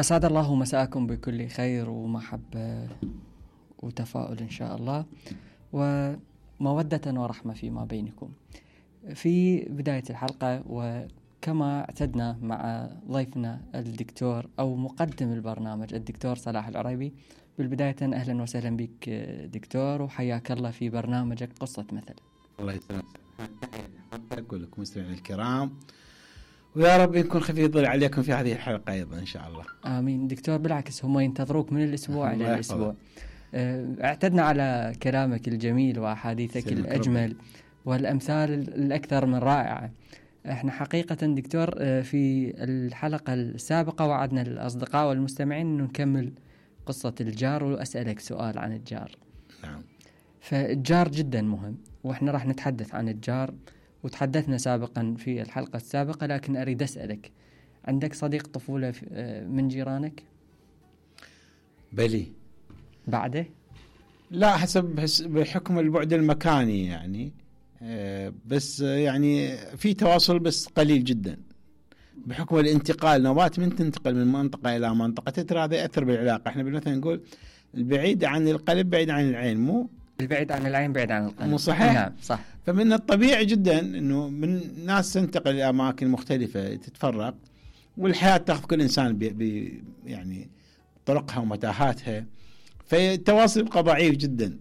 أسعد الله مساءكم بكل خير ومحبة وتفاؤل إن شاء الله ومودة ورحمة فيما بينكم. في بداية الحلقة وكما اعتدنا مع ضيفنا الدكتور أو مقدم البرنامج الدكتور صلاح العريبي، بالبداية أهلا وسهلا بك دكتور وحياك الله في برنامجك قصة مثل. الله يسلمك، أقول لكم مستمعين الكرام ويا رب يكون خفيف الظل عليكم في هذه الحلقة أيضا إن شاء الله. آمين دكتور، بالعكس هم ينتظروك من الأسبوع إلى الأسبوع. اعتدنا على كلامك الجميل وأحاديثك الأجمل والأمثال الأكثر من رائعة. احنا حقيقة دكتور في الحلقة السابقة وعدنا الأصدقاء والمستمعين أنه نكمل قصة الجار وأسألك سؤال عن الجار. نعم. فالجار جدا مهم واحنا راح نتحدث عن الجار، وتحدثنا سابقا في الحلقة السابقة، لكن أريد أسألك، عندك صديق طفولة من جيرانك؟ بلي. بعده؟ لا، حسب بحكم البعد المكاني يعني، بس يعني في تواصل بس قليل جدا بحكم الانتقال. نوبات من تنتقل من منطقة إلى منطقة ترى هذا يأثر بالعلاقة. احنا بالمثل نقول البعيد عن القلب بعيد عن العين، مو البعيد عن العين بعيد عن القلب، مو صحيح؟ نعم صح. فمن الطبيعي جدا انه من ناس تنتقل الى اماكن مختلفه تتفرق، والحياه تاخذ كل انسان يعني طرقها ومتاهاتها، فالتواصل يبقى ضعيف جدا.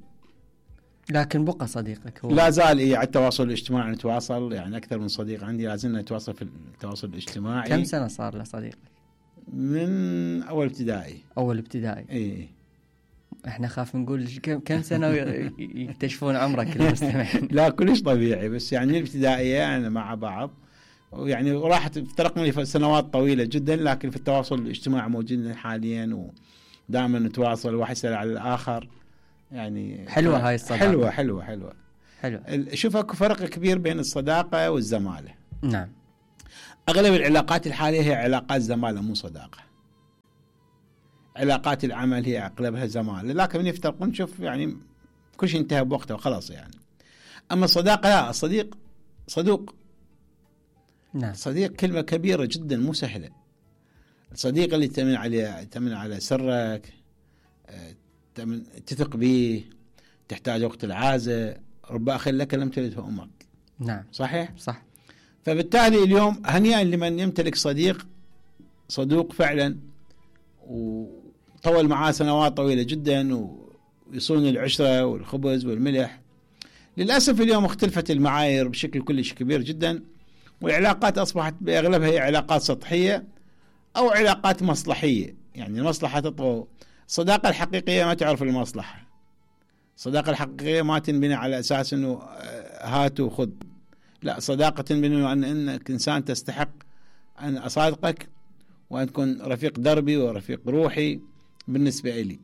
لكن بقى صديقك هو لا زال على التواصل الاجتماعي نتواصل، يعني اكثر من صديق عندي لازلنا نتواصل في التواصل الاجتماعي. كم سنه صار له صديقك؟ من اول ابتدائي. اول ابتدائي. اي احنا خاف نقول كم سنة يكتشفون عمرك المستمعين. لا كلش طبيعي، بس يعني الابتدائية أنا مع بعض، ويعني راحت افترقنا لي سنوات طويلة جدا، لكن في التواصل الاجتماعي موجودين حاليا ودائما نتواصل، واحد يسأل على الآخر. يعني حلوة هاي الصداقة. حلوة. شوف اكو فرق كبير بين الصداقة والزمالة. نعم. أغلب العلاقات الحالية هي علاقات زمالة مو صداقة. علاقات العمل هي أغلبها زمالة، لكن من يفترقون نشوف يعني كل شيء انتهى بوقته وخلاص يعني. أما الصداقة لا، الصديق صدوق. نعم. صديق كلمة كبيرة جدا مو سهلة. الصديق اللي تأمن على سرك، تثق به، تحتاج وقت العازة، رب أخ لك لم تلده أمك. نعم صحيح؟ صح. فبالتالي اليوم هنيئا لمن يمتلك صدوق فعلا وطول معاه سنوات طويلة جدا ويصون العشرة والخبز والملح. للأسف اليوم اختلفت المعايير بشكل كلش كبير جدا، والعلاقات أصبحت بأغلبها هي علاقات سطحية أو علاقات مصلحية، يعني المصلحة تطغى. الصداقة الحقيقية ما تعرف المصلحة. الصداقة الحقيقية ما تنبني على أساس أنه هات وخذ، لا، صداقة تنبني عن أنك إنسان تستحق أن أصادقك وأن تكون رفيق دربي ورفيق روحي بالنسبة إلي.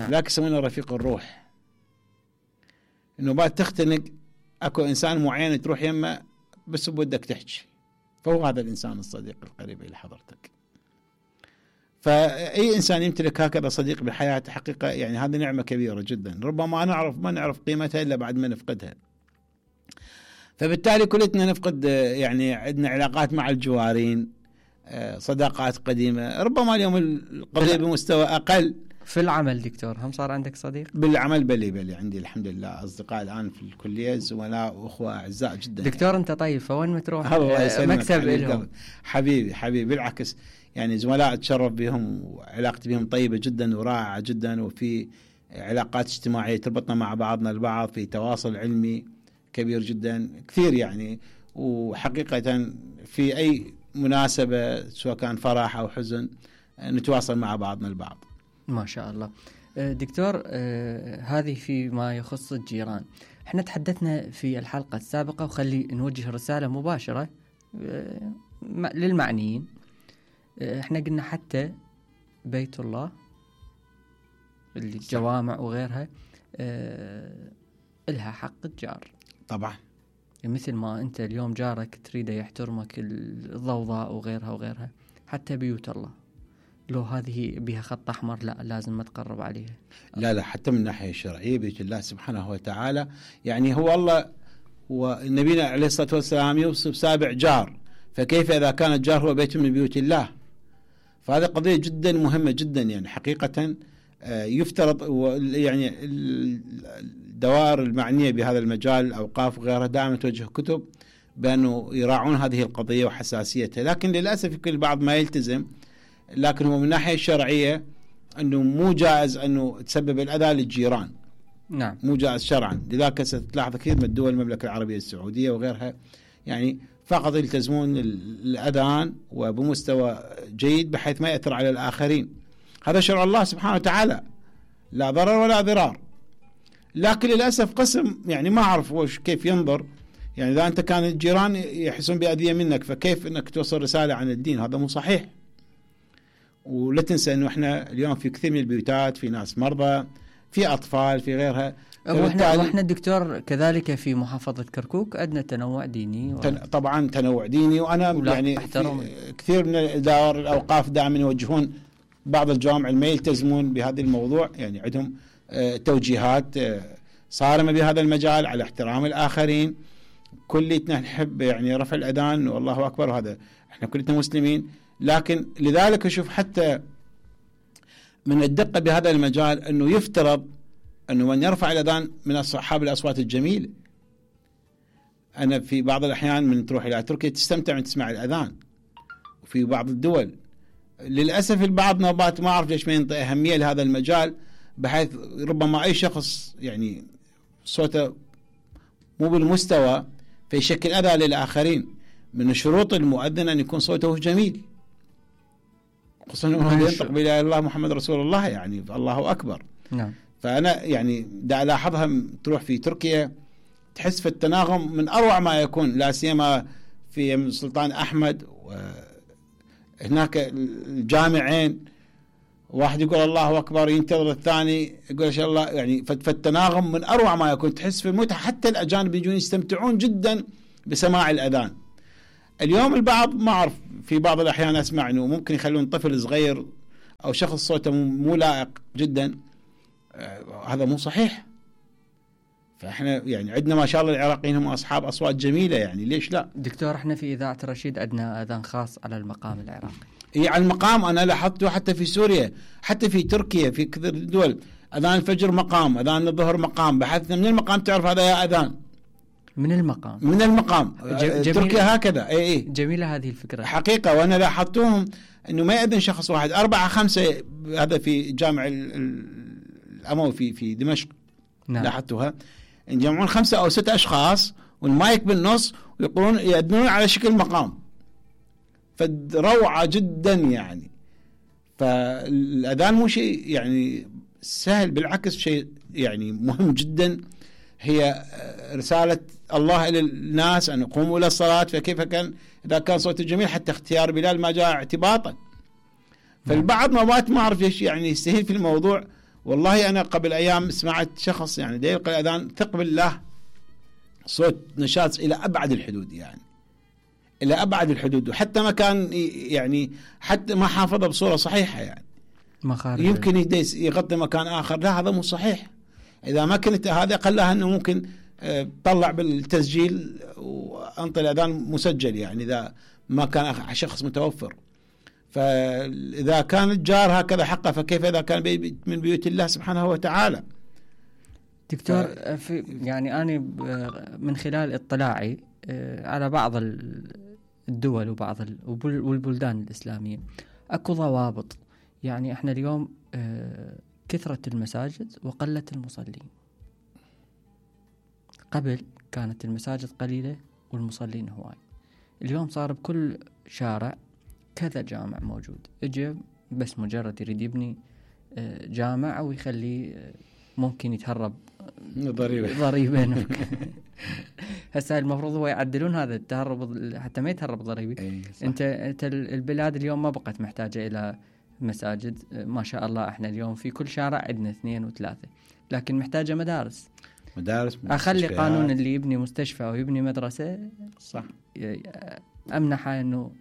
لكن يسمونه رفيق الروح، إنه بعد تختنق أكو إنسان معين تروح يمه بس بودك تحكي، فهو هذا الإنسان الصديق القريب إلى حضرتك. فأي إنسان يمتلك هكذا صديق بحياته حقيقة يعني هذه نعمة كبيرة جدا، ربما ما نعرف قيمتها إلا بعد ما نفقدها. فبالتالي كلنا نفقد، يعني عندنا علاقات مع الجوارين، صداقات قديمة، ربما اليوم القضية بمستوى أقل. في العمل دكتور هم صار عندك صديق؟ بالعمل بلي عندي الحمد لله أصدقاء الآن في الكلية، زملاء وأخوة أعزاء جدا. دكتور يعني. أنت طيب، فوين ما تروح مكسب لهم. حبيبي بالعكس، يعني زملاء أتشرف بهم وعلاقتي بهم طيبة جدا ورائعة جدا، وفي علاقات اجتماعية تربطنا مع بعضنا البعض، في تواصل علمي كبير جدا كثير يعني. وحقيقة في أي مناسبة سواء كان فرح أو حزن نتواصل مع بعضنا البعض. ما شاء الله. دكتور، هذه فيما يخص الجيران. احنا تحدثنا في الحلقة السابقة، وخلي نوجه رسالة مباشرة للمعنيين. احنا قلنا حتى بيت الله، الجوامع وغيرها إلها حق الجار طبعا. مثل ما أنت اليوم جارك تريده يحترمك، الضوضاء وغيرها، حتى بيوت الله لو هذه بها خط أحمر لا لازم ما تقرب عليها. لا حتى من الناحية الشرعية بيت الله سبحانه وتعالى، يعني هو الله ونبينا عليه الصلاة والسلام يوصف 7 جار، فكيف إذا كان الجار هو بيت من بيوت الله؟ فهذه قضية جدا مهمة جدا يعني حقيقة. يفترض يعني الدوائر المعنية بهذا المجال الأوقاف وغيرها دائما توجه كتب بأنه يراعون هذه القضية وحساسيتها، لكن للأسف يمكن البعض ما يلتزم. لكن هو من الناحية الشرعية أنه مو جائز أنه تسبب الأذى للجيران. نعم. مو جائز شرعا. لذلك ستلاحظ كثير من الدول المملكة العربية السعودية وغيرها يعني فقط يلتزمون الأذان وبمستوى جيد بحيث ما يأثر على الآخرين. هذا شرع الله سبحانه وتعالى، لا ضرر ولا ضرار. لكن للأسف قسم يعني ما أعرف كيف ينظر، يعني إذا أنت كان الجيران يحسون بأذية منك فكيف أنك توصل رسالة عن الدين؟ هذا مو صحيح. ولا تنسى أنه إحنا اليوم في كثير من البيوتات في ناس مرضى، في أطفال، في غيرها. وإحنا الدكتور كذلك في محافظة كركوك عندنا تنوع ديني طبعا تنوع ديني. وأنا يعني كثير من دار الأوقاف دائما يوجهون بعض الجوامع ما يلتزمون بهذا الموضوع، يعني عندهم توجيهات صارمة بهذا المجال على احترام الآخرين. كلنا نحب يعني رفع الأذان والله أكبر، وهذا احنا كلنا مسلمين. لكن لذلك أشوف حتى من الدقة بهذا المجال أنه يفترض أنه من يرفع الأذان من أصحاب الأصوات الجميلة. أنا في بعض الأحيان من تروح إلى تركيا تستمتع من تسمع الأذان، وفي بعض الدول للأسف البعض نوبات ما أعرف ليش ما ينطي أهمية لهذا المجال، بحيث ربما أي شخص يعني صوته مو بالمستوى فيشكل أذى للآخرين. من شروط المؤذن أن يكون صوته جميل، خصوصا أنه ينطق بلا إله إلا الله محمد رسول الله، يعني الله أكبر. نعم. فأنا يعني دا ألاحظها تروح في تركيا تحس في التناغم من أروع ما يكون، لا سيما في السلطان أحمد هناك الجامعين، واحد يقول الله أكبر ينتظر الثاني يقول إن شاء الله، يعني فالتناغم من أروع ما يكون، تحس في المتعة. حتى الأجانب يجون يستمتعون جدا بسماع الأذان. اليوم البعض ما أعرف في بعض الأحيان أسمع أنه ممكن يخلون طفل صغير أو شخص صوته مو لائق جدا، هذا مو صحيح. فإحنا يعني عندنا ما شاء الله العراقيين هم أصحاب أصوات جميلة، يعني ليش لا؟ دكتور احنا في إذاعة الرشيد عندنا أذان خاص على المقام العراقي. على المقام أنا لاحظته حتى في سوريا، حتى في تركيا، في كثير دول أذان الفجر مقام، أذان الظهر مقام، بحثنا من المقام تعرف هذا يا أذان من المقام. من المقام. تركيا هكذا. اي جميلة هذه الفكرة حقيقة. وأنا لاحظتهم أنه ما يأذن شخص واحد، 4 5. هذا في جامع الأموي في دمشق. نعم. لاحظتها يجمعون 5 أو 6 أشخاص والمايك بالنص ويقولون يأذنون على شكل مقام، فروعة جدا يعني. فالأذان مو شيء يعني سهل، بالعكس شيء يعني مهم جدا. هي رسالة الله إلى الناس أن يقوموا إلى الصلاة، فكيف كان إذا كان صوته جميل حتى اختيار بلال ما جاء اعتباطا. فالبعض ما أعرف ليش يعني يستهين في الموضوع. والله أنا قبل أيام سمعت شخص يعني دا يلقي الأذان ثق بالله صوت نشاط إلى أبعد الحدود، يعني إلى أبعد الحدود، وحتى ما كان يعني حتى ما حافظه بصورة صحيحة، يعني يمكن يغطي مكان آخر. لا هذا مو صحيح. إذا ما كنت هذا قلها أنه ممكن طلع بالتسجيل وأنطي الأذان مسجل، يعني إذا ما كان شخص متوفر. فإذا كان الجار هكذا حقه فكيف إذا كان من بيوت الله سبحانه وتعالى. دكتور يعني أنا من خلال اطلاعي على بعض الدول وبعض والبلدان الإسلامية أكو ضوابط. يعني احنا اليوم كثرة المساجد وقلة المصلين. قبل كانت المساجد قليلة والمصلين هواي، اليوم صار بكل شارع كذا جامع موجود. اجى بس مجرد يريد يبني جامع او يخليه ممكن يتهرب ضريبة هسه المفروض هو يعدلون هذا التهرب حتى ما يتهرب ضريبي. انت البلاد اليوم ما بقت محتاجة الى مساجد، ما شاء الله احنا اليوم في كل شارع عندنا 2 و3، لكن محتاجة مدارس. اخلي قانون اللي يبني مستشفى او يبني مدرسة صح امنحه انه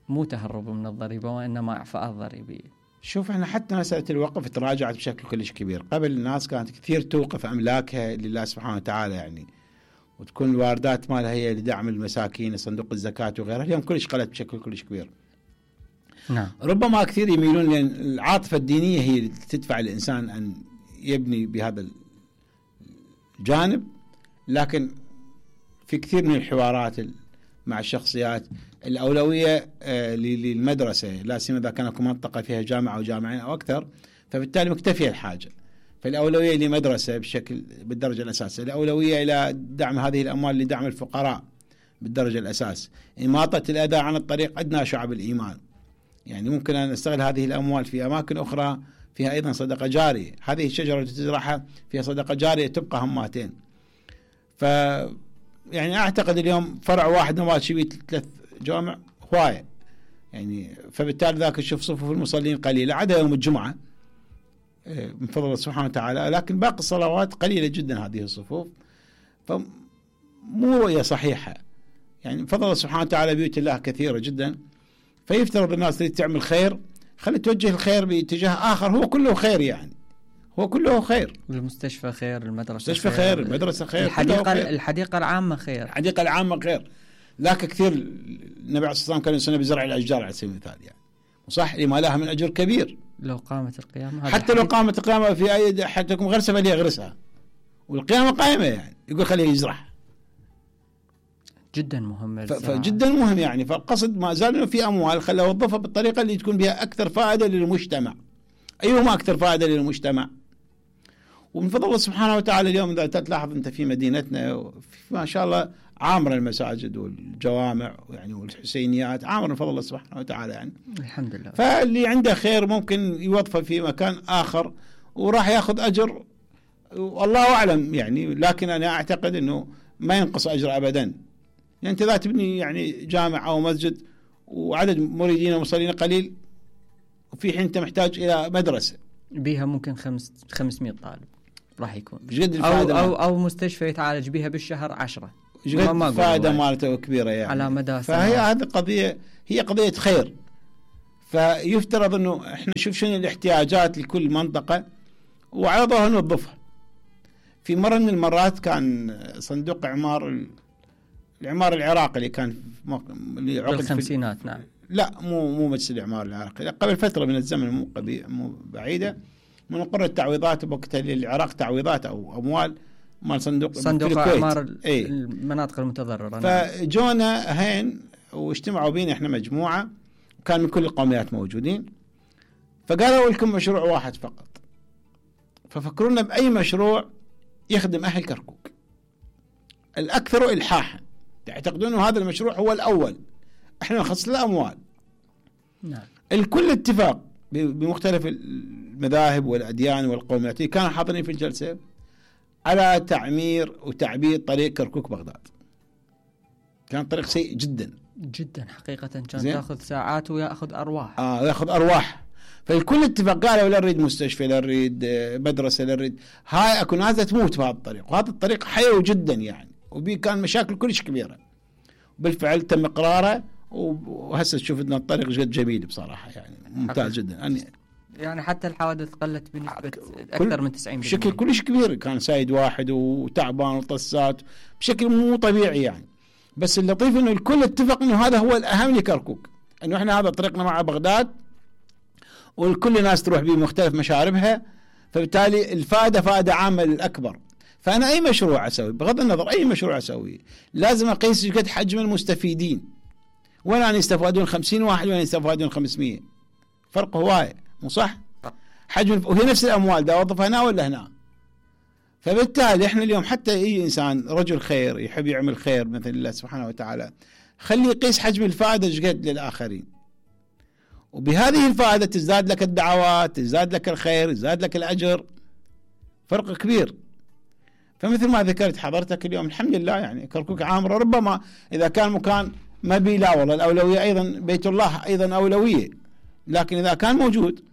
مو تهرب من الضريبة وإنما إعفاءات ضريبية. شوف احنا حتى مسألة الوقف تراجعت بشكل كلش كبير. قبل الناس كانت كثير توقف أملاكها لله سبحانه وتعالى، يعني وتكون الواردات مالها هي لدعم المساكين، صندوق الزكاة وغيرها. اليوم كلش قلت بشكل كلش كبير. نعم. ربما كثير يميلون لأن العاطفة الدينية هي اللي تدفع الإنسان أن يبني بهذا الجانب، لكن في كثير من الحوارات مع الشخصيات الأولوية للمدرسة، لا سيما إذا كان منطقة فيها جامعة أو جامعين أو أكثر، فبالتالي مكتفية الحاجة، فالأولوية لمدرسة بالدرجة الأساسية، الأولوية إلى دعم هذه الأموال لدعم الفقراء بالدرجة الأساس، إماطة الأذى عن الطريق أدنى شعب الإيمان. يعني ممكن أن نستغل هذه الأموال في أماكن أخرى فيها أيضا صدقة جارية، هذه الشجرة التي تزرعها فيها صدقة جارية تبقى هماتين. يعني أعتقد اليوم فرع واحد نوال شبيه 3 جوامع هواية، يعني فبالتالي ذاك نشوف صفوف المصلين قليلة عدا يوم الجمعة من فضل الله سبحانه وتعالى، لكن باقي الصلوات قليلة جدا هذه الصفوف، فمو رؤية صحيحة. يعني من فضل الله سبحانه وتعالى بيوت الله كثيرة جدا، فيفترض الناس اللي تعمل خير خلي توجه الخير باتجاه آخر، هو كله خير، يعني هو كله خير. المستشفى خير، المدرسة خير، المدرسة خير، الحديقة العامة خير، الحديقة العامة خير. لكن كثير النبي عليه الصلاة والسلام كان يسنى بزرع الأشجار على سبيل المثال، يعني وصح لما لها من أجر كبير لو قامت القيامة، حتى لو قامت القيامة في أي حتى تكون غرسة فليغرسها، والقيامة قائمة، يعني يقول خليه يزرع. جدا مهم، فجدا مهم يعني. فالقصد ما زال انه في اموال خليها وظفها بالطريقه اللي تكون بها اكثر فائده للمجتمع. ايهما اكثر فائده للمجتمع؟ ومن فضل الله سبحانه وتعالى اليوم اذا تلاحظ انت في مدينتنا ما شاء الله عامره المساجد والجوامع يعني والحسينيات عامره من فضل الله سبحانه وتعالى، يعني الحمد لله. فاللي عنده خير ممكن يوظفه في مكان اخر وراح ياخذ اجر والله اعلم يعني، لكن انا اعتقد انه ما ينقص اجر ابدا. يعني انت اذا تبني يعني جامع او مسجد وعدد مريدين ومصلين قليل، وفي حين انت محتاج الى مدرسه بيها ممكن 500 طالب راح يكون، او مستشفى يتعالج بها بالشهر 10، فائده مالته كبيره يعني على مدى فهي هذه قضيه، هي قضيه خير. فيفترض انه احنا نشوف شنو الاحتياجات لكل منطقه وعلى ظهر نوظفها. في مره من المرات كان صندوق الإعمار العراقي اللي كان اللي عقد بالخمسينات، نعم، لا مو مجلس الإعمار العراقي، قبل فترة من الزمن مو بعيدة، من قرر التعويضات بوقتها للعراق، تعويضات أو أموال مال صندوق إعمار المناطق المتضررة. فجونا هين واجتمعوا بينا إحنا مجموعة وكان من كل القوميات موجودين، فقالوا لكم مشروع واحد فقط، ففكرونا بأي مشروع يخدم أهل كركوك الأكثر إلحاحا، تعتقدون هذا المشروع هو الأول، احنا نخصص له أموال. نعم. الكل اتفاق بمختلف المذاهب والأديان والقوميات كانوا حاضرين في الجلسة على تعمير وتعبيد طريق كركوك بغداد. كان طريق سيء جدا جدا حقيقة، كان تأخذ ساعات ويأخذ أرواح. يأخذ أرواح. فالكل اتفاق قالوا لا نريد مستشفى، لا نريد مدرسة، لا نريد هاي أكو ناس تموت في هذا الطريق، وهذا الطريق حيوي جدا يعني، وبيه كان مشاكل كلش كبيرة. بالفعل تم إقراره، وهسه تشوف أن الطريق جد جميل بصراحة، يعني ممتاز جدا. يعني حتى الحوادث قلت بنسبة أكثر من 90%، بشكل كلش كبير. كان سايد واحد وتعبان وطسات بشكل مو طبيعي يعني. بس اللطيف أنه الكل اتفق أنه هذا هو الأهم لكركوك، أنه إحنا هذا طريقنا مع بغداد، والكل ناس تروح بمختلف مشاربها، فبالتالي الفائدة فائدة عامة للأكبر. فأنا أي مشروع أسوي بغض النظر أي مشروع أسوي لازم أقيس قد حجم المستفيدين، ولا أن يستفادون 50 واحد ولا يستفادون 500، فرق هواية، مو صح؟ حجم، وهي نفس الأموال دا أوظفها هنا ولا هنا. فبالتالي إحنا اليوم حتى أي إنسان رجل خير يحب يعمل خير مثل الله سبحانه وتعالى، خلي يقيس حجم الفائدة قد للآخرين، وبهذه الفائدة تزداد لك الدعوات، تزداد لك الخير، تزداد لك الأجر، فرق كبير. فمثل ما ذكرت حضرتك اليوم الحمد لله يعني كركوك عامرة، ربما إذا كان مكان ما بي لا والله الأولوية أيضا بيت الله أيضا أولوية، لكن إذا كان موجود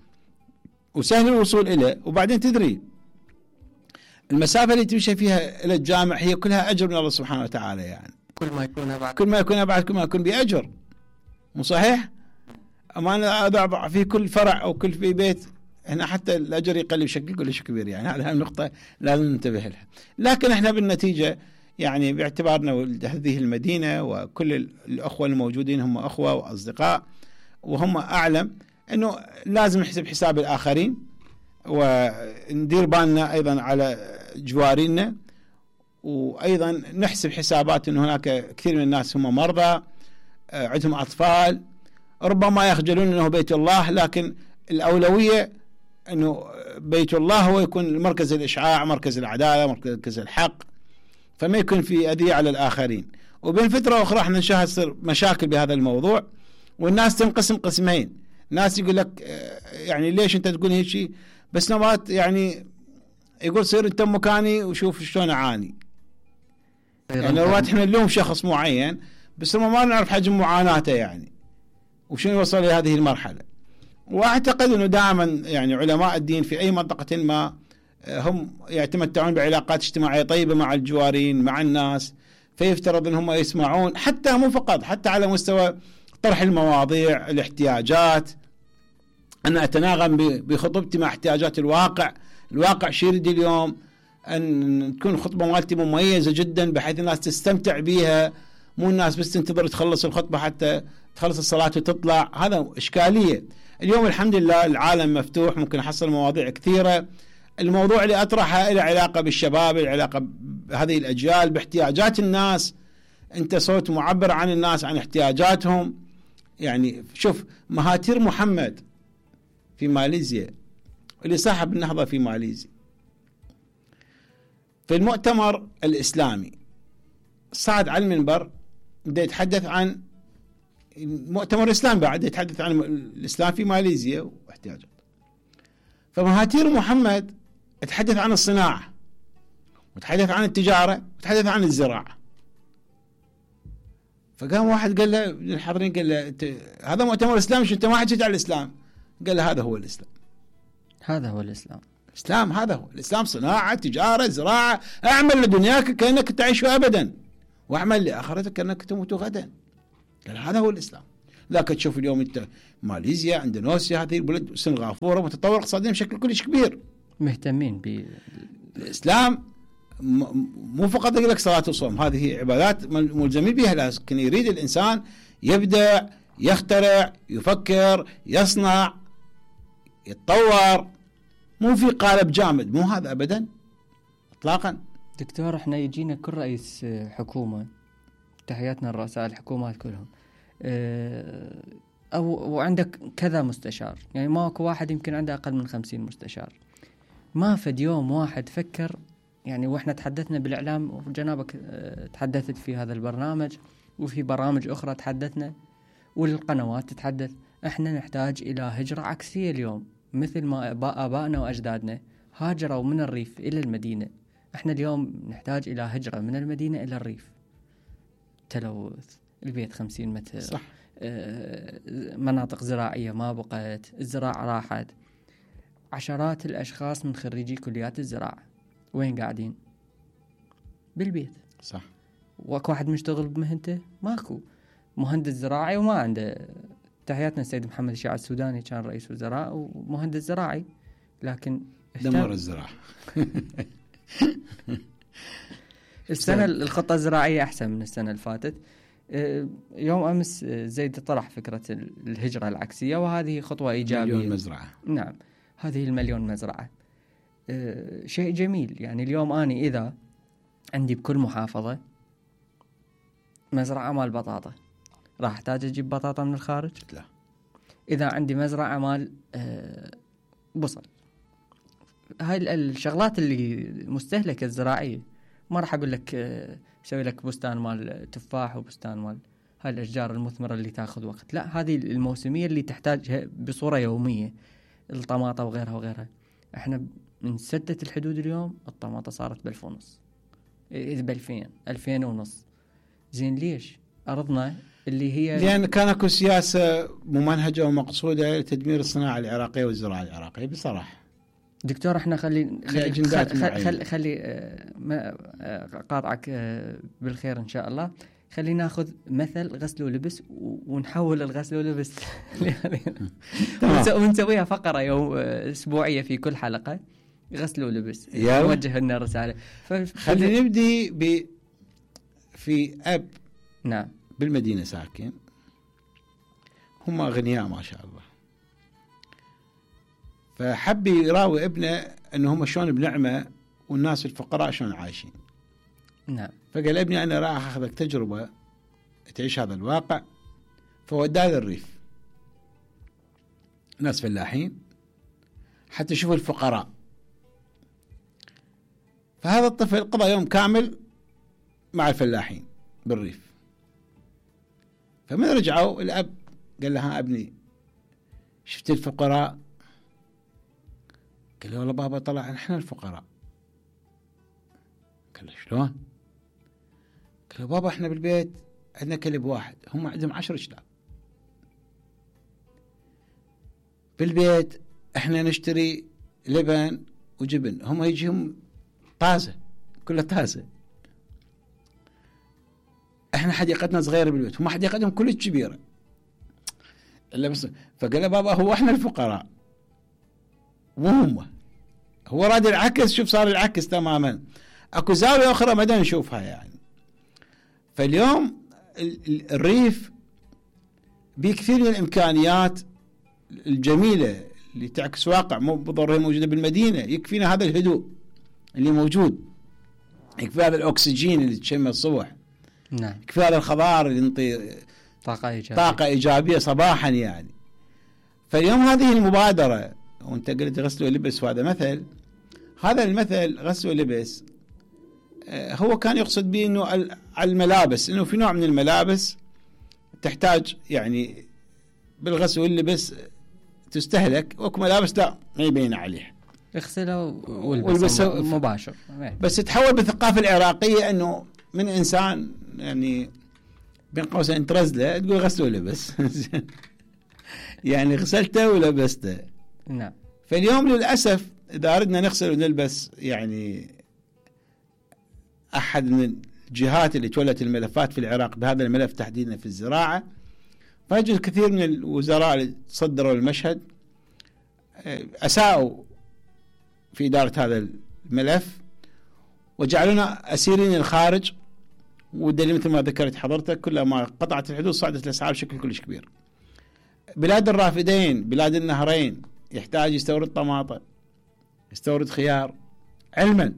وسهل الوصول إليه، وبعدين تدري المسافة اللي تمشي فيها إلى الجامع هي كلها أجر من الله سبحانه وتعالى، يعني كل ما يكون أبعد كل ما يكون بأجر، مو صحيح؟ أما أنا أضع في كل فرع أو كل في بيت هنا حتى الأجر يقل بشكل كلش كبير، يعني هذه النقطة لازم ننتبه لها. لكن إحنا بالنتيجة يعني باعتبارنا هذه المدينة وكل الأخوة الموجودين هم أخوة وأصدقاء، وهم أعلم أنه لازم نحسب حساب الآخرين، وندير بالنا أيضا على جوارينا، وأيضا نحسب حسابات أن هناك كثير من الناس هم مرضى، عندهم أطفال، ربما يخجلون أنه بيت الله، لكن الأولوية أنه بيت الله هو يكون مركز الإشعاع، مركز العدالة، مركز الحق، فما يكون في أذية على الآخرين. وبين فترة أخرى احنا نشاهد تصير مشاكل بهذا الموضوع، والناس تنقسم قسمين. ناس يقول لك يعني ليش أنت تقول هيك شيء، بس نوات يعني يقول صير أنت مكاني وشوف شلون أعاني. يعني نوات احنا نلوم شخص معين، بس ما نعرف حجم معاناته يعني وشنو وصل لهذه المرحلة. وأعتقد أنه دائما يعني علماء الدين في أي منطقة ما هم يتمتعون بعلاقات اجتماعية طيبة مع الجوارين، مع الناس، فيفترض أن هم يسمعون، حتى مو فقط، حتى على مستوى طرح المواضيع، الاحتياجات، أنا أتناغم بخطبتي مع احتياجات الواقع شو يريد اليوم، أن تكون خطبة مالتي مميزة جدا بحيث الناس تستمتع بيها، مو الناس بس تنتظر تخلص الخطبة حتى تخلص الصلاة وتطلع. هذا إشكالية. اليوم الحمد لله العالم مفتوح، ممكن أحصل مواضيع كثيرة. الموضوع اللي أطرحها له علاقة بالشباب، علاقة بهذه الأجيال، باحتياجات الناس. أنت صوت معبر عن الناس، عن احتياجاتهم. يعني شوف مهاتير محمد في ماليزيا، اللي صاحب النهضة في ماليزيا، في المؤتمر الإسلامي صعد على المنبر بده يتحدث عن المؤتمر الإسلامي، بعد يتحدث عن الإسلام في ماليزيا واحتياجات. فمهاتير محمد تحدث عن الصناعة، وتحدث عن التجارة، وتحدث عن الزراعة. فقام واحد قال له الحاضرين، قال له هذا مؤتمر إسلامي، شو أنت ما حكيت عن الإسلام؟ قال له هذا هو الإسلام. هذا هو الإسلام. الإسلام هذا هو الإسلام، صناعة، تجارة، زراعة. أعمل لدنياك كأنك تعيش أبدا، وأعمل لآخرتك كأنك تموت غدا. قال هذا هو الإسلام. لكن تشوف اليوم أنت ماليزيا، اندونيسيا، هذه البلد، سنغافورة، متطور اقتصاديا بشكل كلش كبير، مهتمين بالإسلام. مو فقط يقول لك صلاة وصوم، هذه عبادات ملزمين بها، لكن يريد الإنسان يبدع، يخترع، يفكر، يصنع، يتطور، مو في قالب جامد، مو هذا أبدا إطلاقا. دكتور احنا يجينا كل رئيس حكومة، تحياتنا الرؤساء الحكومات كلهم، وعندك كذا مستشار، يعني ماكو واحد يمكن عنده أقل من 50 مستشار. ما فد يوم واحد فكر، يعني واحنا تحدثنا بالإعلام، وجنابك تحدثت في هذا البرنامج وفي برامج أخرى تحدثنا، والقنوات تتحدث، احنا نحتاج إلى هجرة عكسية اليوم، مثل ما آبائنا وأجدادنا هاجروا من الريف إلى المدينة. احنا اليوم نحتاج إلى هجرة من المدينة إلى الريف. تلوث، البيت 50 متر، صح. مناطق زراعية ما بقت، الزراعة راحت. عشرات الأشخاص من خريجي كليات الزراعة وين قاعدين؟ بالبيت. صح. واكو واحد مشتغل بمهنته؟ ماكو. مهندس زراعي وما عنده. تحياتنا السيد محمد الشيعة السوداني كان رئيس وزراء ومهندس زراعي، لكن دمر الزراعة. السنة الخطة الزراعية أحسن من السنة اللي فاتت. يوم أمس زيد طرح فكرة الهجرة العكسية، وهذه خطوة إيجابية. 1,000,000 مزرعة. نعم، هذه 1,000,000 مزرعة شيء جميل. يعني اليوم أنا إذا عندي بكل محافظة مزرعة مال بطاطا، راح أحتاج أجيب بطاطا من الخارج؟ لا. إذا عندي مزرعة مال بصل، هاي الشغلات اللي مستهلكة الزراعية، ما راح أقول لك سوي لك بستان مال تفاح وبستان مال هاي الأشجار المثمرة اللي تأخذ وقت. لا، هذه الموسمية اللي تحتاجها بصورة يومية، الطماطة وغيرها وغيرها. احنا من سدة الحدود اليوم الطماطة صارت ب1,500، إذا ب2,000، 2,500. زين ليش؟ أرضنا اللي هي، لأن كان اكو سياسة ممنهجة ومقصودة لتدمير الصناعة العراقية والزراعة العراقية بصراحة. دكتور احنا خلي ما قاطعك بالخير ان شاء الله. خلي ناخذ مثل غسل ولبس ونحول الغسل ولبس ونسويها فقرة يوم اسبوعية في كل حلقة، غسل ولبس، نوجه لنا رسالة. خلينا نبدي في أب نعم بالمدينة ساكن، هم أغنياء ما شاء الله. فحب يراوي ابنه أنه هم شلون بنعمة والناس الفقراء شلون عايشين. نعم. فقال ابني أنا راح أخذك تجربة تعيش هذا الواقع. فوداه للريف، ناس فلاحين حتى يشوفوا الفقراء. فهذا الطفل قضى يوم كامل مع الفلاحين بالريف. فمن رجعوا الأب قال له ها ابني شفت الفقراء؟ قال له والله بابا طلع احنا الفقراء. قال له شلون؟ قال له بابا احنا بالبيت عندنا كلب واحد، هم عندهم 10 كلاب. بالبيت احنا نشتري لبن وجبن، هم يجيهم طازة، كلها طازة. احنا حديقتنا صغيرة بالبيت، هم حديقتهم كلها كبيرة. الا بس فقال له بابا هو احنا الفقراء وهم. هو راد العكس، شوف صار العكس تماما. اكو زاوية اخرى ما نشوفها يعني. فاليوم الريف بكثير من الامكانيات الجميلة اللي تعكس واقع مو بالضرورة موجودة بالمدينة. يكفينا هذا الهدوء اللي موجود، يكفي هذا الأكسجين اللي تشمه الصبح. نعم. يكفي هذا الخضار اللي ينطي طاقة إيجابية صباحا يعني. فاليوم هذه المبادرة، وانت قلت غسل ولبس وهذا مثل، هذا المثل غسل ولبس هو كان يقصد به انه على الملابس، انه في نوع من الملابس تحتاج يعني بالغسل واللبس تستهلك، وكو ملابس لا ما يبين عليه اغسله والبس مباشر. بس تحول بالثقافة العراقية انه من انسان يعني بين قوسين ترزله تقول غسل ولبس يعني غسلته ولبسته. نعم. فاليوم للأسف إذا أردنا نغسل ونلبس يعني أحد من الجهات اللي تولت الملفات في العراق بهذا الملف تحديدا في الزراعة، فيجد كثير من الوزراء اللي تصدروا المشهد أساءوا في إدارة هذا الملف وجعلونا أسيرين الخارج. والدليل مثل ما ذكرت حضرتك كلما قطعت الحدود صعدت الأسعار بشكل كلش كبير. بلاد الرافدين، بلاد النهرين، يحتاج يستورد طماطم، يستورد خيار، علما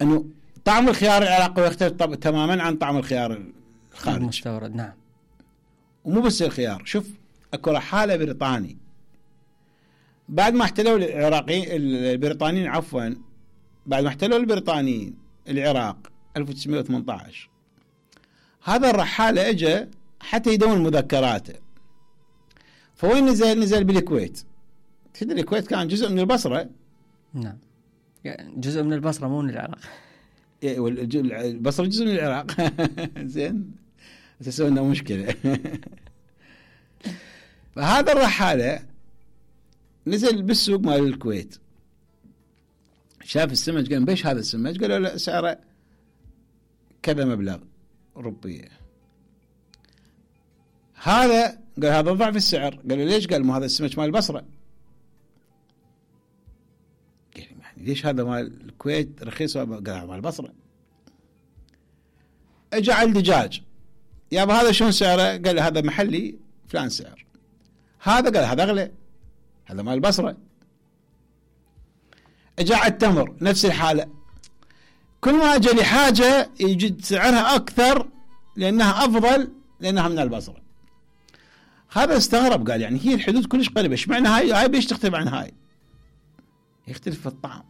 أنه طعم الخيار العراقي يختلف تماما عن طعم الخيار الخارجي المستورد. نعم. ومو بس الخيار، شوف أكو رحالة بريطاني بعد ما احتلوا البريطانيين عفوا بعد ما احتلوا البريطانيين العراق 1918، هذا الرحالة اجى حتى يدون مذكراته. فوين نزل بالكويت. تدري الكويت كان جزء من البصرة. نعم. جزء من البصرة مو من العراق. البصرة جزء من العراق. زين تسوينا مشكلة. فهذا الرحالة نزل بالسوق مال الكويت، شاف السمك قال بيش هذا السمك؟ قالوا له سعره كذا مبلغ روبية. هذا قال هذا ضعف السعر. قالوا ليش؟ قال مو هذا السمك مال البصرة. قال يعني ليش هذا مال الكويت رخيص؟ قال هذا مال البصرة. اجى على الدجاج، يابا هذا شلون سعره؟ قال هذا محلي فلان سعر. هذا قال هذا اغلى، هذا مال البصرة. اجى على التمر نفس الحالة، كل ما اجى لحاجة يجد سعرها اكثر لانها افضل لانها من البصرة. هذا استغرب قال يعني هي الحدود كلش قريبة، ايش معنى هاي بيش تختلف عن هاي؟ يختلف في الطعم.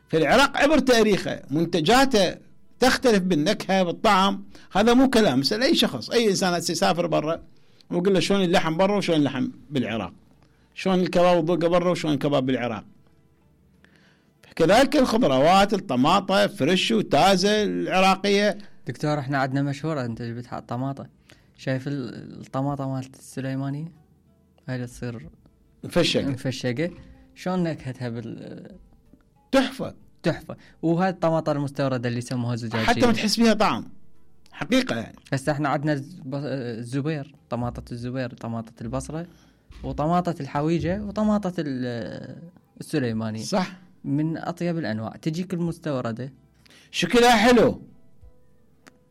في العراق عبر تاريخه منتجاته تختلف بالنكهة بالطعم. هذا مو كلام، اسأل اي شخص، اي انسان يسافر برا ويقول له شلون اللحم برا وشلون اللحم بالعراق، شلون الكباب والضوقة برا وشلون الكباب بالعراق. كذلك الخضروات، الطماطة فريش وتازة العراقية. دكتور احنا عندنا مشهورة انت جبت حق طماطة، شايف الطماطة مالت السليمانية هاي اللي تصير مفشقة شلون نكهتها تحفة. وهذه الطماطة المستوردة اللي يسموها زجاجية حتى ما تحس فيها طعم حقيقة يعني. هسه احنا عندنا الزبير، طماطة الزبير، طماطة البصرة، وطماطة الحويجة، وطماطة السليمانية. صح، من أطيب الأنواع. تجيك المستوردة شكلها حلو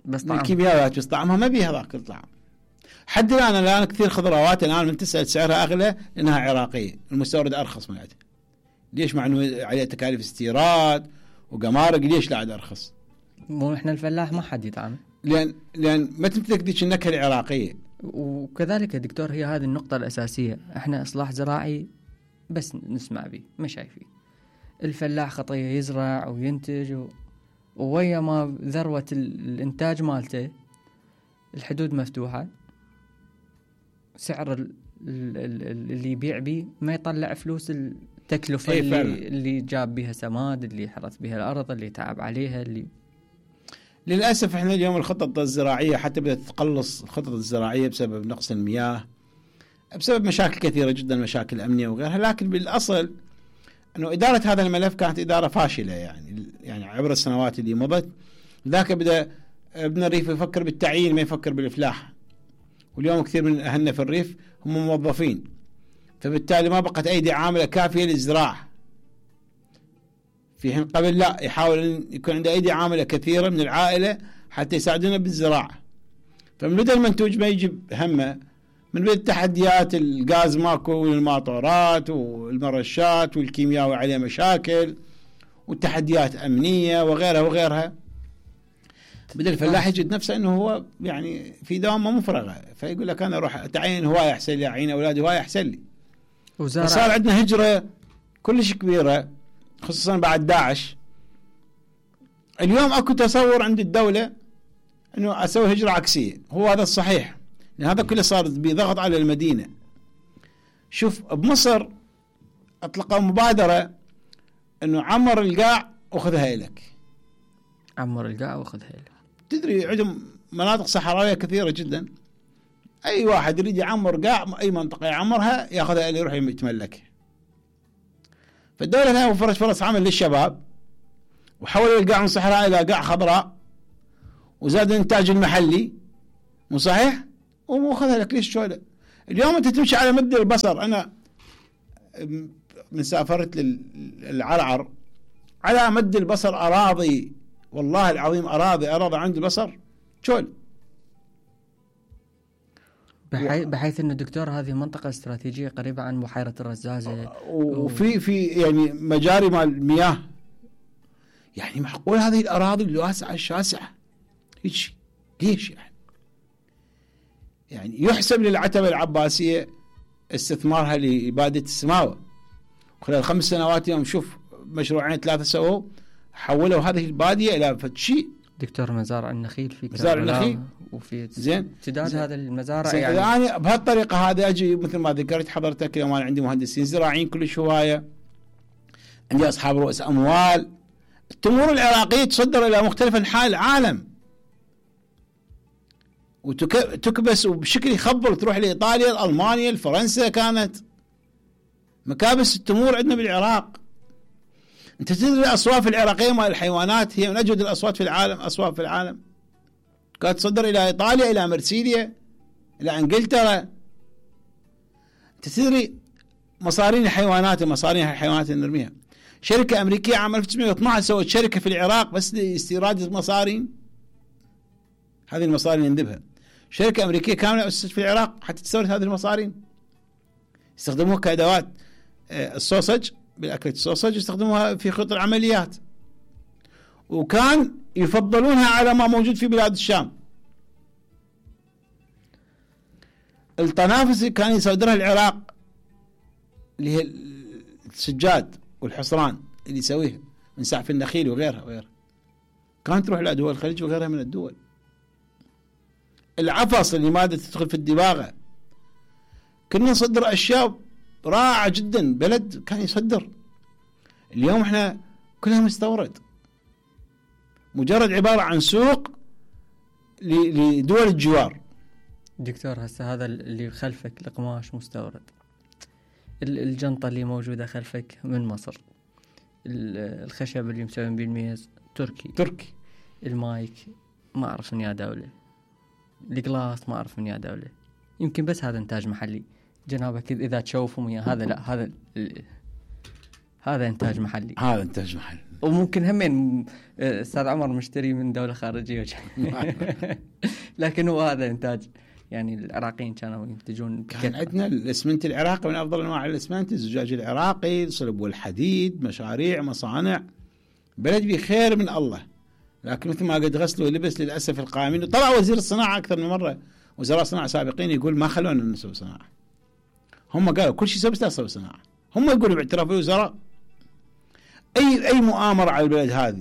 بس طعم الكيميائيات، بس طعمها ما بيها ذاك الطعم. حد الان كثير خضروات الان من تسال سعرها اغلى لانها عراقيه، المستورد ارخص مالتها. ليش؟ مع انه عليه تكاليف استيراد وقمارق، ليش لا عاد ارخص؟ مو احنا الفلاح ما حد يدعم، لان ما تمتلك ذيك النكهه العراقيه. وكذلك يا دكتور هي هذه النقطه الاساسيه، احنا اصلاح زراعي بس نسمع به ما شايفين. الفلاح خطيه يزرع وينتج وويا ما ذروه الانتاج مالته الحدود مفتوحه، سعر اللي يبيع بيه ما يطلع فلوس التكلفة اللي جاب بها سماد، اللي حرث بها الأرض، اللي تعب عليها. اللي للأسف احنا اليوم الخطط الزراعية حتى بدأت تقلص الخطط الزراعية بسبب نقص المياه، بسبب مشاكل كثيرة جدا، مشاكل أمنية وغيرها. لكن بالأصل أنه إدارة هذا الملف كانت إدارة فاشلة يعني عبر السنوات اللي مضت. ذاك بدأ ابن الريف يفكر بالتعيين ما يفكر بالإفلاح، واليوم كثير من أهلنا في الريف هم موظفين، فبالتالي ما بقت أيدي عاملة كافية للزراعة، في حين قبل لا يحاول أن يكون عنده أيدي عاملة كثيرة من العائلة حتى يساعدونا بالزراعة. فمن بدأ المنتوج ما يجيب همه، من بدأ التحديات، الغاز ماكو والماطورات والمرشات والكيمياوي عليه مشاكل والتحديات أمنية وغيرها وغيرها، بدأ الفلاح يجد نفسه انه هو يعني في دوامه مفرغه، فيقول لك انا اروح اتعين هوايه احسن لي، اعين اولادي هوايه احسن لي. فصار عندنا هجره كلش كبيره خصوصا بعد داعش. اليوم اكو تصور عند الدوله انه اسوي هجره عكسيه، هو هذا الصحيح، لان هذا كله صار بضغط على المدينه. شوف بمصر اطلقوا مبادره انه عمر القاع وخذها الك، عمر القاع وخذها الك. تدري عندهم مناطق صحراوية كثيرة جدا، أي واحد يريد يعمر قاع أي منطقة يعمرها يأخذها اللي يروح يتملكها. فالدولة لها وفرت فرص عمل للشباب، وحولوا القاع من صحراء إلى قاع خضراء، وزاد الإنتاج المحلي، مو صحيح؟ وأخذها لك ليش شوية. اليوم أنت تمشي على مد البصر، أنا من سافرت للعرعر على مد البصر أراضي، والله العظيم أراضي عند البصر شول. بحيث أن الدكتور هذه منطقة استراتيجية قريبة عن بحيرة الرزازة، وفي يعني مجاري مال المياه. يعني معقول هذه الأراضي الواسعة الشاسعة هيك ليش؟ يعني يحسب للعتبة العباسية استثمارها لإبادة السماوة خلال 5 سنوات. يوم شوف مشروعين 3 سووا، حولوا هذه البادية إلى شيء. دكتور مزارع النخيل في مزارع النخيل وفي زين امتداد هذا المزارع. يعني بهالطريقة هذه أجي مثل ما ذكرت حضرتك، اليوم أنا عندي مهندسين زراعيين كلش هواية، عندي أصحاب رؤوس أموال. التمور العراقية تصدر إلى مختلف أنحاء العالم وتكبس وبشكل يخبر، تروح لإيطاليا، ألمانيا، فرنسا. كانت مكابس التمور عندنا بالعراق. انت تدري الاصواف العراقيه مال الحيوانات هي من اجود الاصوات في العالم، اصواف في العالم كانت تصدر الى ايطاليا، الى مرسيليا، الى انجلترا. انت تدري مصارين الحيوانات نرميها. شركه امريكيه عام 1912 سوت شركه في العراق بس لاستيراد المصارين، هذه المصارين يندبها. شركه امريكيه كامله اسست في العراق حتى تستورد هذه المصارين، يستخدموها كادوات السوسج، بالأكلة السوسج يستخدموها في خط العمليات، وكان يفضلونها على ما موجود في بلاد الشام. الطنافس كان يصدرها العراق اللي هي السجاد والحصران اللي يسويها من سعف النخيل وغيرها كانت تروح إلى دول الخليج وغيرها من الدول. العفص اللي مادة تدخل في الدباغة، كنا نصدر أشياء رائعة جدا، بلد كان يصدر. اليوم احنا كلها مستورد، مجرد عبارة عن سوق لدول الجوار. دكتور هسه هذا اللي خلفك القماش مستورد، الجنطة اللي موجودة خلفك من مصر، الخشب اللي مسوين بالميز تركي، المايك ما أعرف من يا دولة، الجلاس ما أعرف من يا دولة، يمكن بس هذا إنتاج محلي. جنابك إذا تشوفهم وياه هذا لا، هذا إنتاج محلي، هذا إنتاج محلي. وممكن همين أستاذ عمر مشتري من دولة خارجية لكن هو هذا إنتاج. يعني العراقيين كانوا ينتجون كان عندنا الاسمنت العراقي من افضل انواع الاسمنت، الزجاج العراقي، الصلب والحديد، مشاريع، مصانع، بلد بخير من الله. لكن مثل ما قد غسلوا لبس للاسف القائمين. وطلع وزير الصناعه اكثر من مره، وزراء صناعه سابقين يقول ما خلونا نسوي صناعه. هم قالوا كل شيء بس لا نسوي صناعه. هم يقولوا باعتراف الوزراء اي مؤامره على البلد هذه